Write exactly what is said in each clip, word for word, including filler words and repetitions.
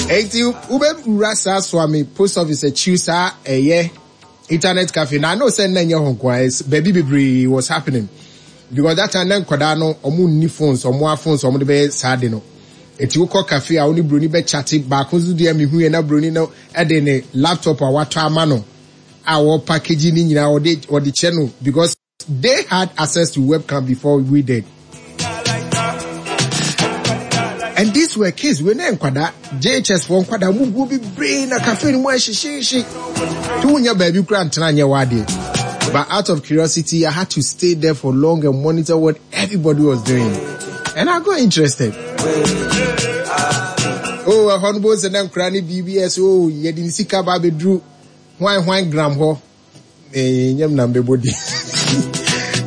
Enti wobɛwura saa Suame post office akyi saa ɛyɛ internet cafe na I know sɛ nna nyɛ hɔ nko a, baabi bebree was happening because that time na nkwadaa no, ɔmo nni phones, ɔmo a phones ɔmo de bɛyɛ saa de no. Eti wokɔ cafe a, wo ne broni bɛ chat. Baako nso deɛ, mehu yɛ na broni no ɛde ne laptop a watɔ ama no a wɔ package ne nyinaa ɔde ɔde kyɛ no because they had access to webcam before we did. And these were kids we ne nkwadaa J H S foɔ, nkwadaa mu guo bebree na cafe no mu ahyehyehye tí wonya baabi kura ntena nyɛ w'adeɛ. But out of curiosity, I had to stay there for long and monitor what everybody was doing, and I got interested. Oh, ɛhɔ no bó sɛ na nkwadaa ne biribi ɛsɛ, oh, yɛde ne sika ba abɛduru hwan hwan gram hɔ ɛɛ nyɛm na mbɛbɔ di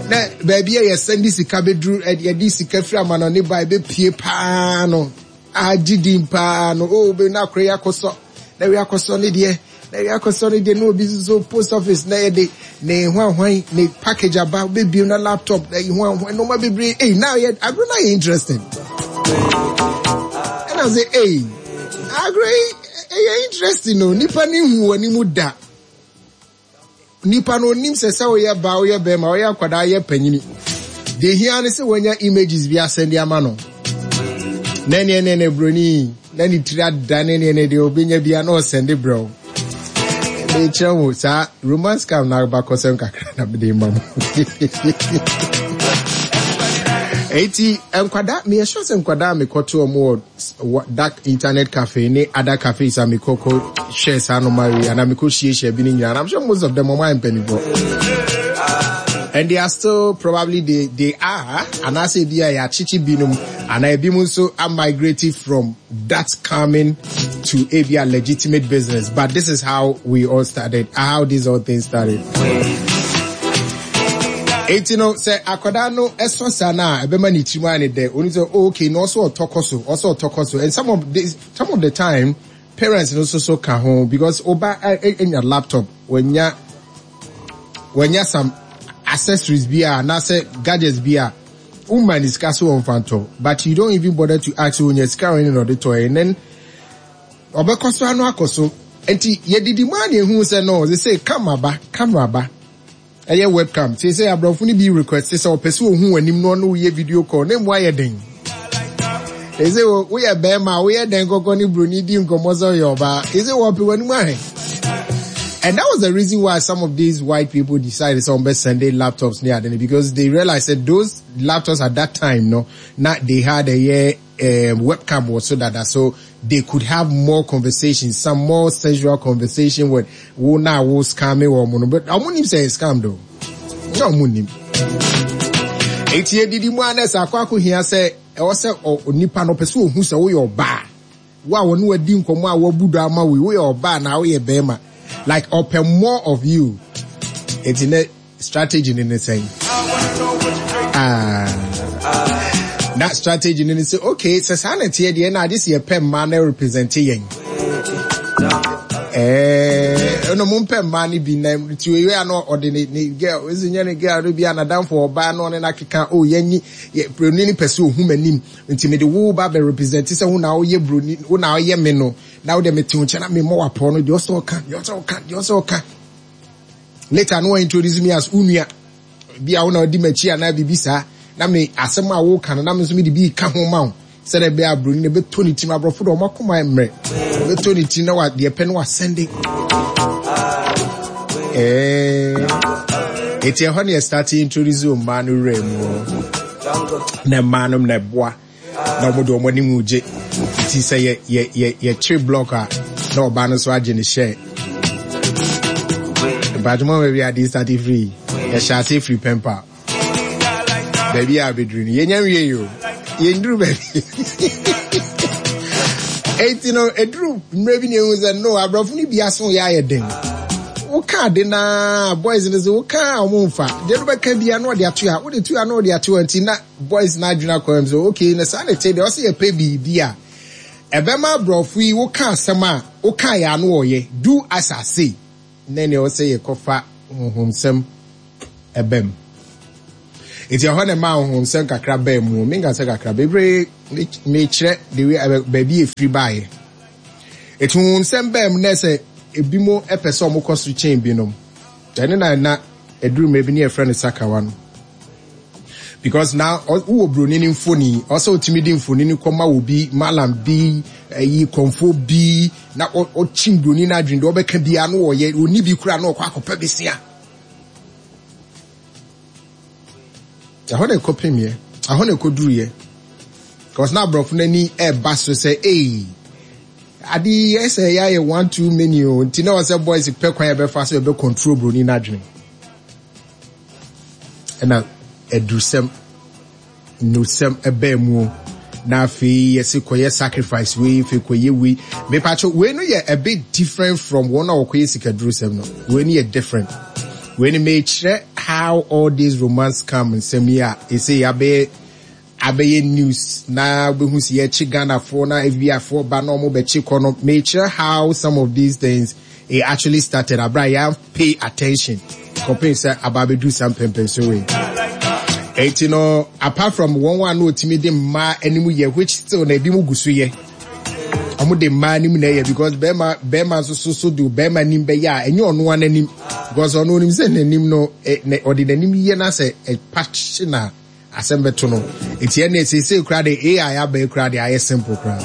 na baabi a yɛsɛn de sika bɛduru, yɛde sika firi amanɔne ba ɛbɛpie paa no, agye din paa no. Oh, bɛ na akora yi akɔsɔ na wi akɔsɔ ne deɛ na wi akɔsɔ ne deɛ na obi nso post office na yɛde ne hwan hwan ne package aba bɛbiem na laptop na hwan hwan nneɛma bebree. Ei, na yɛ agorɔ na yɛ interesting ɛna sɛ, ei, agorɔ yi ɛyɛ interesting o. Nipa ne hu wɔ anim da, nipa no onim sɛ sɛ woyɛ ba, woyɛ bɛrima, woyɛ akwadaa, yɛ panyini deɛ, hia ne sɛ wɔanya images bi asɛnde ama no na neɛ ne ne broni na ne tiri ada ne neɛ ne deɛ obɛnya bia na ɔsɛnde brɛ wo. Mekyerɛ wo saa romance scam na abakɔsɛm kakra na mede ma mo. Eti nkwadaa, meyɛ sure sɛ nkwadaa a mekɔto ɔmo wɔ dark internet cafe ne other cafes a mekɔkɔ hwɛ saa noma wei anaa mekɔ hyiahyia bi ne nyinaa, I'm sure most of them ɔmo ayɛ mpanimfoɔ and they are still probably they they are, anaasɛ ebi a yɛakyekye binom anaa ebi mu nso are migrating from that coming to ebi a legitimate business. But this is how we all started, how these all things started. Eti no sɛ akwadaa no ɛsɔ saa na ɛbɛma ne tirim ayɛ ne dɛ, oni sɛ, oh, okay, na ɔsɔ ɔtɔ kɔ so, ɔsɔ ɔtɔ kɔ so. And some of this, some of the time parents no nso so ka ho because ɔba anya laptop, wanya wanya some accessories bi a anaasɛ gadgets bi a woma ne sika so wɔmfa ntɔ, but you don't even bother to ask onya sika wɔn na ɔde tɔ, and then ɔbɛkɔ so ano akɔ so. Nti yɛdidi mu a na ehu sɛ no ɔsɛ sɛ camera ba, camera ba, ɛyɛ webcam te sɛ aborɔfo no bi request sɛ ɔpɛ sɛ ohun w'anim na ɔno woyɛ video call na emu ayɛ den. Ɛsɛ woyɛ bɛrima a woyɛ den kɔkɔ ne broni di nkɔmɔ sɛ ɔyɛ ɔbaa, ɛsɛ wɔpɛ w'anim ahwɛ. And that was the reason why some of these white people decided some best send their laptops near them, because they realized that those laptops at that time, no, not they had a year um, webcam was so that so they could have more conversations, some more sensual conversation with wo na wo scamming wɔn no. But ɔmo nim sɛ scam though. Na ɔmo nim. Eti edidi mu anɛ sɛ akɔ akɔ hia sɛ ɛwɔ sɛ onipa no pɛ sɛ ohun sɛ woyɛ ɔbaa. Wo a wɔne wadi nkɔmɔ a wabu do ama wo, woyɛ ɔbaa na woyɛ bɛrima. Like ɔpɛ more of you. Eti ne strategy ne ne sɛn? Ah. That strategy ne ne sɛ, okay, sɛ saa na ɛteɛ deɛ, na ade sɛ yɛpɛ mmaa na represent yɛn. Ɛɛ, ɛna mo mpɛ mmaa no bi na ti oye a na ɔde ne ne girl esi nyɛ ne girl no bi a n'adamfo ɔbaa na ɔne n'akeka, oh, yɛnyi yɛ broni no pɛ sɛ ohun m'anim nti mede wo ba bɛ represent sɛ wo na woyɛ broni, wo na ɔyɛ me no, na wo de me te wo nkyɛn na me mmɔ wapɔ no deɛ ɔsɛ ɔka, deɛ ɔsɛ ɔka, deɛ ɔsɛ ɔka. Later no wɔn introduce me as unua bi a wo na ɔdi m'akyi anaa biribi saa, na me asɛm a woka no na me nso me de bi ka ho ma wo sɛdeɛ ɛbɛyɛ a broni no bɛtɔ ne tirim. Aborɔfo de ɔmo akoma mmerɛ, bɛtɔ ne tirim na wa deɛ pɛ no wasɛnde. Ɛɛ, eti ɛhɔ ne yɛ start introduce mmaa no wura mu na mmaa no na ɛboa na wɔn de wɔn anim gye. Nti sɛ yɛ yɛ yɛ yɛkyere block a, na ɔbaa no nso agye ne hyɛ mpatwoma. Baabi a de start firi, yɛhyɛ ase firi pɛmpa baabi a abɛduru no, yɛnya nwie yi o, yɛnduru baabi. Eti no eduru mmerɛ bi na ehu sɛ no aborɔfo no bi aso yɛ ayɛ den. Woka ade naa, boys no sɛ woka a, ɔmo nfa deɛ no bɛka bia na ɔde ato a wode to a na ɔde ato a. Nti na boys no adwene akɔ ɛm sɛ, okay, na saa na ɛte deɛ, ɔsɛ yɛpɛ biribi a ɛbɛma aborɔfo yi woka asɛm a woka yɛ ano ɔyɛ do as I say, na nea ɔsɛ yɛkɔfa honhomsɛm ɛbɛm. Nti ɛhɔ na ɛma honhomsɛm kakra bɛɛ mu. Menka sɛ kakra bebree, mekyerɛ the way baabi efiri baeɛ. Eti nsɛm bɛn mu na sɛ ebi mo ɛpɛ sɛ ɔmo kɔ so kyɛn binom. Ɛne na na eduru mmerɛ bi ne yɛfrɛ no sakawa no. Because now wowɔ broni ne mfoni, ɔsɛ otumi di mfoni no kɔma obi, malam bi, ɛyi kɔnfo bi, na ɔkyi broni no adwene deɛ ɔbɛka biara no wɔyɛ, oni bi kura na ɔkɔ akɔpɛ besia. Ɛhɔ na ɛkɔpemyɛ, ɛhɔ na ɛkɔduruyɛ. Because na aborɔfo n'ani ɛɛba so sɛ, ee, ade yi ɛsɛ ɛyɛ ayɛ one too many o, nti na ɔsɛ boys pɛ kwan yɛbɛfa so yɛbɛ control broni n'adwene. Ɛna adurusɛm, nnurusɛm ɛbɛɛ mu o. Na afei yɛsi kɔyɛ sacrifice wei, afei kɔyɛ wei. Mepatro wei no yɛ a bit different from wɔn a wɔkɔyɛ sikadurusɛm no. Wei no yɛ different. Wei no mekyerɛ how all these romance scam nsɛm yi a ɛsɛ yɛabɛyɛ abɛyɛ news na wobɛhu sɛ yɛkye Ghanafoɔ na F B I foɔ ba na ɔmo bɛkye kɔ no. Mekyerɛ how some of these things, it actually started abra yɛn pay attention kɔpem sɛ aba abɛduru saa mpɛmpɛnso wei. Eti no, apart from wɔn a na otumi de mmaa anim yɛ, which still na ebi mu gu so yɛ, ɔmo de mmaa anim na ɛyɛ, because bɛrima bɛrima nso so so de bɛrima anim bɛyɛ a, ɛnyɛ ɔno ara n'anim, because ɔno onim sɛ n'anim no ɛ ɔde n'anim yɛ na sɛ ɛpa hye na asɛm bɛto no. Eti ɛna seesei koraa de A I aba koraa de ayɛ simple koraa.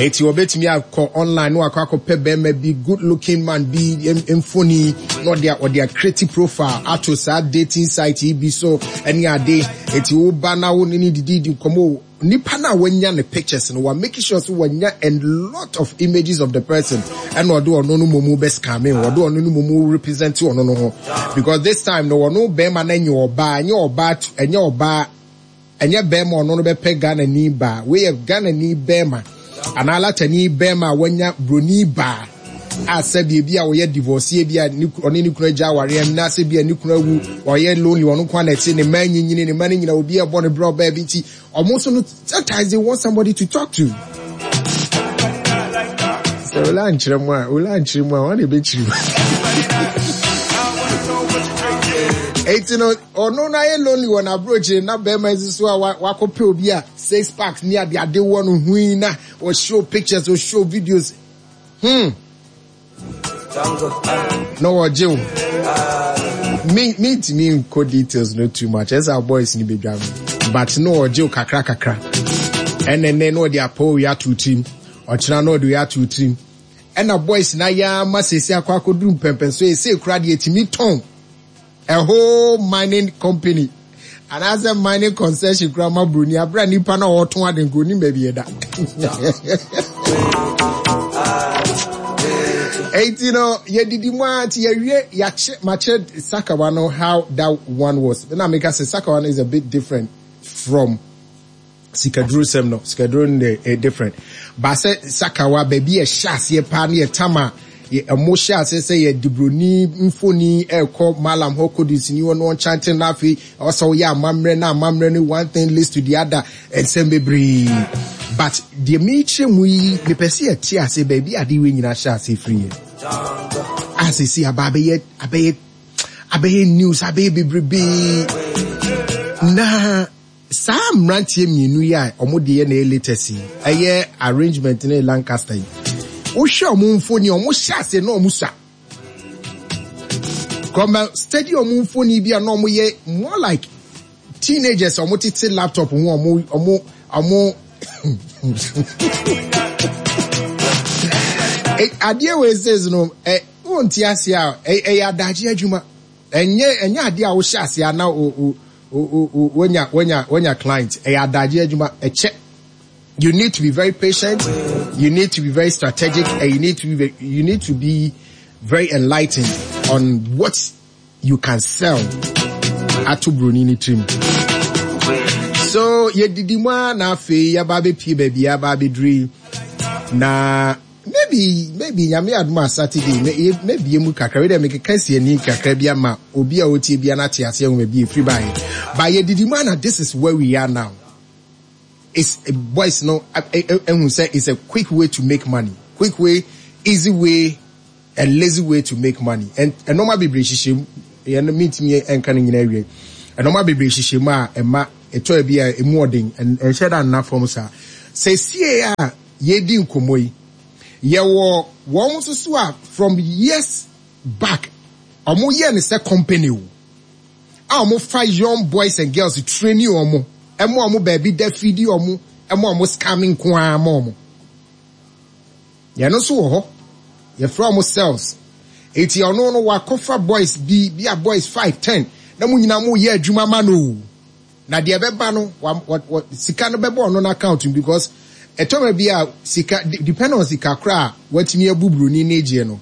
Eti wɔbɛtumi akɔ online na wakɔ akɔpɛ bɛrima bi, good looking man bi mfoni, na ɔde ɔde acreate profile ato saa dating site yi bi so ɛne ade. Eti woba na wo ne ne didi di nkɔmɔ, nipa na wanya ne pictures no, wa make sure so wanya a lot of images of the person, ɛna ɔde ɔno no momu bɛ scam, ɔde ɔno no momu represent ɔno no ho, because this time no, ɔno bɛrima no nyɛ ɔbaa, ɛnyɛ ɔbaa, ɛnyɛ ɔbaa, ɛnyɛ bɛrima ɔno no bɛpɛ Ghana ni baa. Wei yɛ Ghana ni bɛrima anaa latani bɛrima a wanya broni baa a sɛbi ebi a ɔyɛ divorce bi a ɔne ne kunu agya awareɛ na sɛ bi a ne kunu awu, ɔyɛ lonely, ɔno nko na ɛte ne mma nyinyini, ne mma no nyina obi ɛbɔ ne brɛ ɔbaa bi. Nti ɔmo nso no, sometimes they want somebody to talk to. Sɛ ola nkyerɛ mu a, ola nkyerɛ mu a, wɔn na ebekyerɛ mu. Eti no, ɔno na ayɛ lonely wɔ n'aburokyire na bɛrima yi nso a wakɔpɛ obi a six packs ne ade ade wɔ no hui na ɔshow pictures, ɔshow videos, hmm na wɔgye wo. Me mentumi nkɔ details no too much, ɛsɛ boys ni bedwa no, but na wɔgye wo kakra kakra. Ɛnɛ nɛ na ɔde apɔ owi ato tirim, ɔkyena na ɔde owi ato tirim, ɛna boys na yɛ ama sɛsi akɔ akɔduru mpɛmpɛn so ɛsɛ kura deɛ tumi tɔn a whole mining company anaasɛ mining concession kura ma broni abira nipa na ɔtɔn ade nko onim baabi ɛda. Eti no, yɛdidi mu a, nti yɛwie, yɛakyɛ makyɛ sakawa no, how that one was. Na meka sɛ sakawa no is a bit different from sikaduro sɛm no. Sikaduro no de ɛ different ba sɛ sakawa, baabi yɛ hyɛ aseɛ paa ne yɛ tam a ɛmo hyɛ aseɛ sɛ yɛ dibroni mfoni ɛkɔ malam hɔ kɔdusini hɔ no ɔnkyante, na afei ɔsɛ ɔyɛ amammerɛ na amammerɛ no, one thing leads to the other, nsɛm bebree. But deɛ mekyerɛ mu yi, mepɛ sɛ yɛte ase baabi ade wei nyinaa hyɛ ase firi yɛ a sɛsi aba abɛyɛ abɛyɛ abɛyɛ news, abɛyɛ bebrebe. Na saa mmeranteɛ mmienu yi a wɔn deɛ na ɛyɛ latest yi, ɛyɛ arrangement ne Lancaster yi, wohwɛ wɔn mfoni, wɔn hyɛ ase na wɔn sua kɔmɛ steady wɔn mfoni bi a na wɔn yɛ more like teenagers a wɔn tete laptop ho, wɔn wɔn wɔn adeɛ wei says no ɛ wɔn ti ase a, ɛyɛ adagye adwuma. ɛnyɛ ɛnyɛ adeɛ a wohyɛ ase a na o o o o wonya wonya wonya client. Ɛyɛ adagye adwuma, ɛkyɛ. You need to be very patient, you need to be very strategic, and you need to be you need to be very enlightened on what you can sell ato broni ne tirim. So yɛdidi mu a, na afei yɛba abɛpie baabi yɛaba abɛduru yi. Na maybe maybe Nyame adom a, Saturday maybe mu kakra wei dɛ mekeka si ani kakra bi ama obi a ɔtie bia no ate aseɛ ho baabi ɛfiri baeɛ. But yɛdidi mu a, na this is where we are now. It's boys no ehu sɛ it's a quick way to make money, quick way, easy way and lazy way to make money, and ɛnɔɔma bebree hyehyɛ mu. Yɛn mintimi nka ne nyinaa awie. Ɛnɔɔma bebree hyehyɛ mu a ɛma ɛtɔ bi a emu ɔden, ɛnhyɛ da nna fam saa. Sɛ sie a yɛdi nkɔmɔ yi, Yɛwɔ wɔn nso so a from years back ɔmo yɛ ne sɛ company o, a ɔmo fa young boys and girls, training ɔmo, ɛmo ɔmo baabi da, feedi ɔmo, ɛmo ɔmo scamming nko ara ma ɔmo. Yɛn nso wɔ hɔ, yɛfrɛ ɔmo cells. Eti ɔno no wakɔfa boys bi bi a boys five, ten, na mo nyinaa mo yɛ adwuma ma no o. Na deɛ ɛbɛba no wa wa wa sika no bɛbɔ ɔno n'account mu, because ɛtɔmɛ bi a sika depend on sika kora a watumi abu buroni ne gyeɛ no,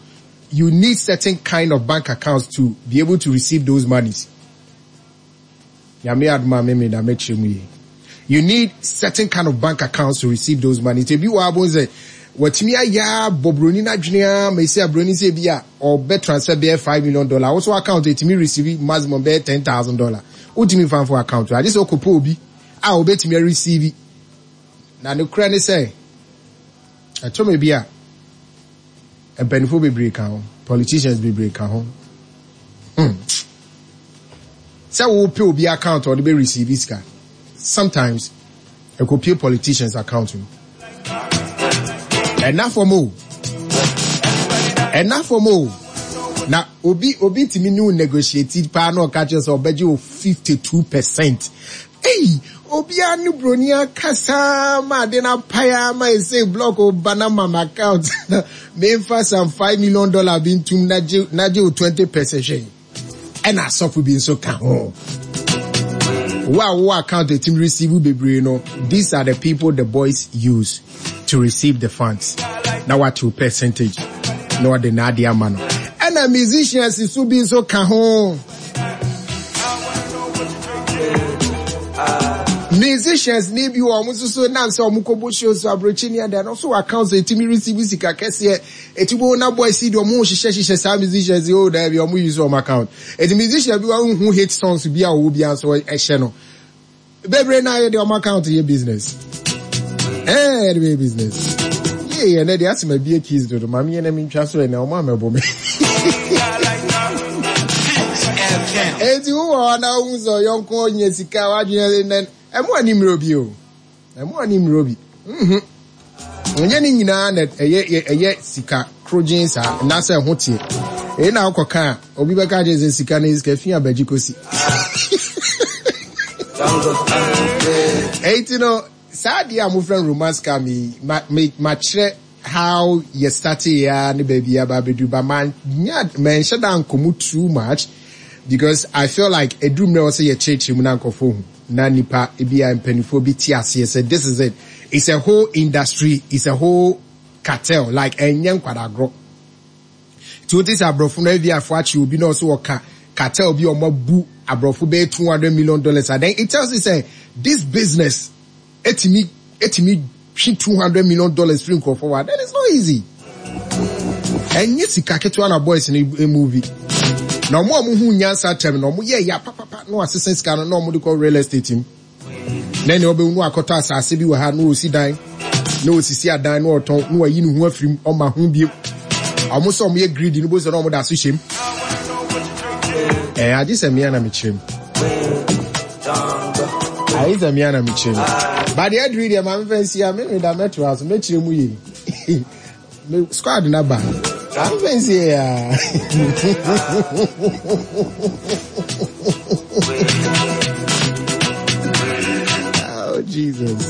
you need certain kind of bank accounts to be able to receive those monies. Nyame adom a meme da mɛkyerɛ mu yie. You need certain kind of bank accounts to receive those money. Nti ebi wɔ abo sɛ watumi ayɛ abɔ buroni n'adwene a ma esi aburoni sɛ ebi a ɔbɛ transfer bɛyɛ five million dollar, woso account etumi receive maximum bɛyɛ ten thousand dollar. Wotumi nfa nfo account agye sɛ ɔkɔpɛ obi a obetumi receive. Na ne kura ne sɛ ɛtɔmɛ bi a mpanimfoɔ bebree ka ho, politicians bebree ka ho hmm. Sɛ wopɛ obi account a ɔde bɛ receive sika, sometimes ɛkɔpie politicians account mu. Ɛna fam o, ɛna fam o. Na obi obi tumi ne wo negotiate paa na ɔka kyerɛ sɛ ɔbɛgye wo fifty two percent. Ei, obiara ne buroni akasa ma ade no apae ama ɛsɛ block ba na ma ma account na memfa some five million dollar bi ntum na gye na gye wo twenty percent. Hwɛ, ɛna asɔfo bi nso ka ho. Wo a wo account etimi receive bebree no, these are the people the boys use to receive the funds, na watew percentage na ɔde n'ade ama no. Ɛna musicians so bi nso ka ho. Musicians ni bi wɔ ɔmo nso so nam sɛ ɔmo kɔbɔ shows aburokyi ni ɛdɛ no so account etimi receive sika kɛseɛ. Eti bo na boys yi de ɔmo hyehyɛ hyehyɛ saa musicians yi o. Daabi, ɔmo use ɔmo account. Eti musician bi wɔn hu hit songs bi a ɔwɔ bi nso ɛhyɛ no bebree na yɛ de ɔmo account yɛ business, ɛɛ yɛde bɛyɛ business yie. Yɛ nɛ de asɛm abie keys dodo maame yɛ na mi ntwa so. Yɛ na ɔmo amɛbɔ mi. Eti wowɔ hɔ na ohun sɛ ɔyɔnko nya sika, wadwene nɛ ɛmo ani mmerɛ obi o, ɛmo ani mmerɛ obi mhm nyɛ ne nyinaa na ɛyɛ ɛyɛ sika korogyen saa anaasɛ ɛho teɛ. Èyí na akɔ ka a obi bɛka kyerɛ sɛ sika no sika fi abagye kosi. Èyí ti no saa adeɛ a mofrɛ no romance scam yi, ma me makyerɛ how yɛ start ya ne baabi aba abɛduru ba. Ma nya manhyɛ da nkɔmu too much because I feel like eduru mmerɛ wɔ sɛ yɛkyerɛkyerɛ mu na nkɔfoɔ hu na nipa ebi a mpanimfoɔ bi te aseɛ sɛ this is it. It's a whole industry, it's a whole cartel, like ɛnyɛ nkwadagorɔ. Tí o ti sɛ aborɔfo no ebi afɔ akyi obi na ɔso ɔka cartel bi a ɔmo abu aborɔfo bɛyɛ two hundred million dollars and then it tells you say this business etimi etimi twi two hundred million dollars firi nkurɔfoɔ wa, then it's not easy. Ɛnyɛ sika ketewa na boys no movie na ɔmo a ɔmo ho nyansa tɛm na ɔmo yɛ ya papapa na wasesa sika no na ɔmo de kɔ real estate mu, na nea ɔbɛwu no akɔtɔ asase bi wɔ ha na ɔsi dan na ɔsisi adan na ɔtɔn na wayi ne ho afiri mu. Ɔma ho biem ɔmo sɛ ɔmo yɛ greedy no bo sɛ na ɔmo da so hyɛm. Ɛɛ agye sɛ mmea na mekyerɛ mu, ayi sɛ mmea na mekyerɛ mu ba deɛ aduru deɛ maame fɛn si a mímí da mɛto aso mɛkyerɛ mu yie. Me squad na ba maame fɛn si yɛ ya. Oh Jesus.